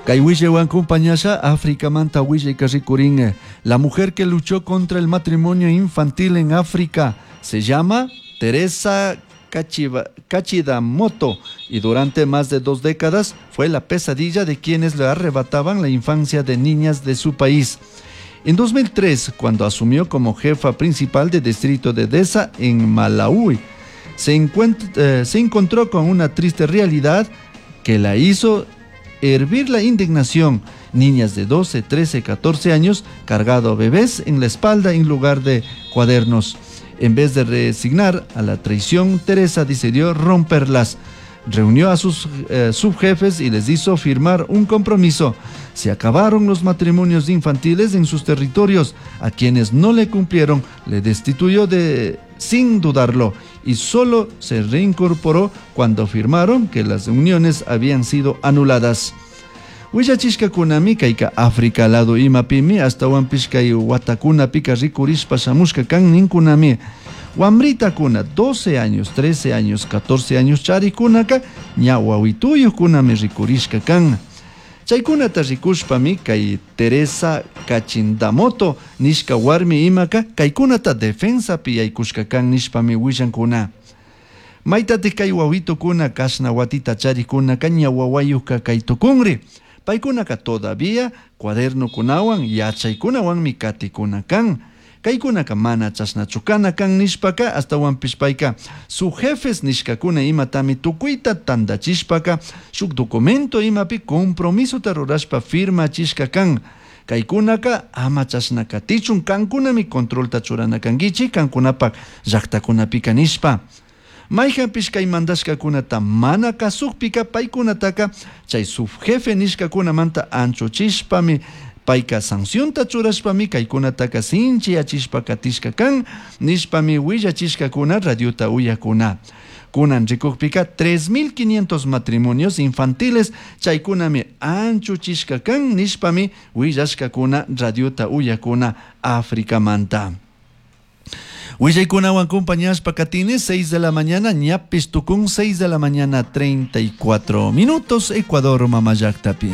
Kay willaywan compañasha Africamanta willayka rikurin. La mujer que luchó contra el matrimonio infantil en África se llama Teresa Kachindamoto y durante más de 2 décadas fue la pesadilla de quienes le arrebataban la infancia de niñas de su país. En 2003, cuando asumió como jefa principal del distrito de Deza en Malaui, se encontró con una triste realidad que la hizo hervir la indignación. Niñas de 12, 13, 14 años cargado bebés en la espalda en lugar de cuadernos. En vez de resignar a la traición, Teresa decidió romperlas. Reunió a sus subjefes y les hizo firmar un compromiso. Se acabaron los matrimonios infantiles en sus territorios. A quienes no le cumplieron, le destituyó sin dudarlo, y solo se reincorporó cuando firmaron que las uniones habían sido anuladas. Willachishkakunami kayka África lado imapimi ashtawanpish kay watakunapika rikurishpa shamushka kan ninkunami. Wamritakuna 12 años, 13 años, 14 años charikunaka ña wawituyukunami rikurishka kan. Chaykunata rikushpami kay Teresa Kachindamoto nishka warmi imaka kaykunata defensapi yaykushka kan nishpami willankuna. Maytatik kay wawitukuna kashna watita charikunaka ña wawayukka kay tukunri. Paykunaka todavía cuadernokunawan yachaykunawanmi katikuna kan. Kaykunaka mana chashnachu kana kan nishpaka ashtawanpish payka su jefes nishkakuna imatami tukuyta tandachishpaka shuk documento imapi compromisota rurashpa firmachishka kan. Kaykunaka ama chashna katichun kankunami controlta churana kankichik kankunapak llaktakunapika nishpa. Mayjanpish kay mandashkakunata mana kasukpika paykunataka chay subjefe nishkakunamanta anchuchishpami payka sancionta churashpami kaykunataka sinchiyachishpa katishka kan nishpami willachishkakuna radiota uyakuna. Kunan rikukpika 3.500 matrimonios infantiles chaykunami anchuchishka kan nishpami willashkakuna radiota uyakuna Africamanta. Willaykunawan compañashpa katini 6 de la mañana, ñapis tukun 6 de la mañana 34 minutos, Ecuador mamallaktapi.